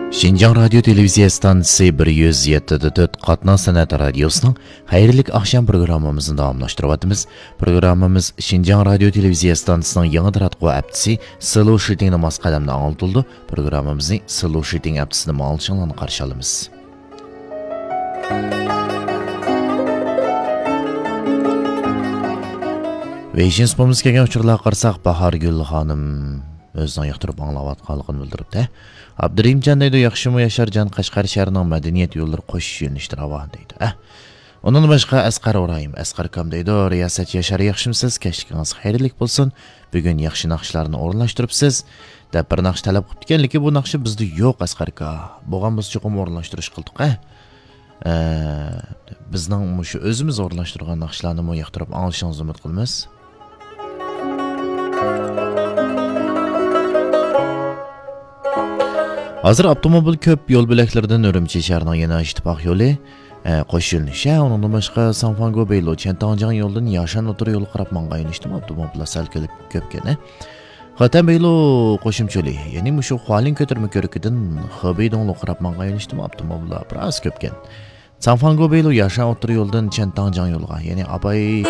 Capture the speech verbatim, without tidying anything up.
شىنجاڭ رادىيو تېلېۋىزىيە ئىستانسىسى بىر يۈز يەتتە دە تۆت قاتناش سەنئەت رادىيوسىنىڭ خەيرلىك ئاخشام پروگراممىمىزنى داۋاملاشتۇرۇۋاتىمىز. پروگراممىمىز شىنجاڭ رادىيو تېلېۋىزىيە ئىستانسىسىنىڭ يېڭى تاراتقۇ ھەپتىسى سلو شىتىڭدا ماس قەدەمدە ئاڭلىتىلىدۇ. پروگراممىمىزنى سلو شىتىڭ ھەپتىسىدە ئاڭلىشىڭلارنى قارشى ئالىمىز. ۋېيشىن سۇپىمىزغا كەلگەن ئۇچۇرلارغا قارىساق، باھارگۈل خانىم ئۆزىنىڭ ياقتۇرۇپ ئاڭلاۋاتقانلىقىنى بىلدۈرۈپتۇ. ئابدۇرېھىمجان دەيدۇ، ياخشىمۇ ياشارجان، قەشقەر شەھىرىنىڭ مەدەنىيەت يوللىرى قوشۇش يۆنىلىشىدە راۋان دەيدۇ. ئە، ئۇنىڭدىن باشقا ئەسقەر ئىبراھىم، ئەسقەر ئاكام دەيدۇ، رىياسەت ياشار، ياخشىمۇسىز؟ كەچلىكىڭىز خەيرلىك بولسۇن. بۈگۈن ياخشى ناخشىلارنى ئورۇنلاشتۇرۇپسىز، دەپ بىر ناخشا تەلەپ قىپتىكەن، لېكىن بۇ ناخشا بىزدە يوق، ئەسقەر ئاكا. بولغان بولسا چوقۇم ئورۇنلاشتۇرۇش قىلدۇق، ھە؟ ئە، بىزنىڭ مۇشۇ ئۆزىمىز ئورۇنلاشتۇرغان ناخشىلارنىمۇ ياقتۇرۇپ ئاڭلىشىڭىزنى ئۈمىد قىلىمىز. ھازىر ئاپتوموبىل كۆپ يول بۆلەكلىرىدىن ئۈرۈمچى شەھىرىنىڭ يېڭى ئىتتىپاق يولى، ئە، قوش يۆنىلىش، ھە، ئۇنىڭدىن باشقا ساڭفاڭگو بېيلو، چيەنتاڭجياڭ يولىدىن ياشان ئوتتۇرا يولغا قاراپ ماڭغان يۆنىلىشتىمۇ ئاپتوموبىللار سەل كۆلۈپ-، كۆپكەن، ھە. خېتەن بېيلو قوشۇمچە يولى، يەنى مۇشۇ خۇالىن كۆتۈرمە كۆرۈكىدىن خېبېي دۇڭلۇغا قاراپ ماڭغان يۆنىلىشتىمۇ ئاپتوموبىللار بىراز كۆپكەن. ساڭفاڭگو بېيلو ياشان ئوتتۇرا يولىدىن چيەنتاڭجياڭ يولىغا، يەنى ئاباي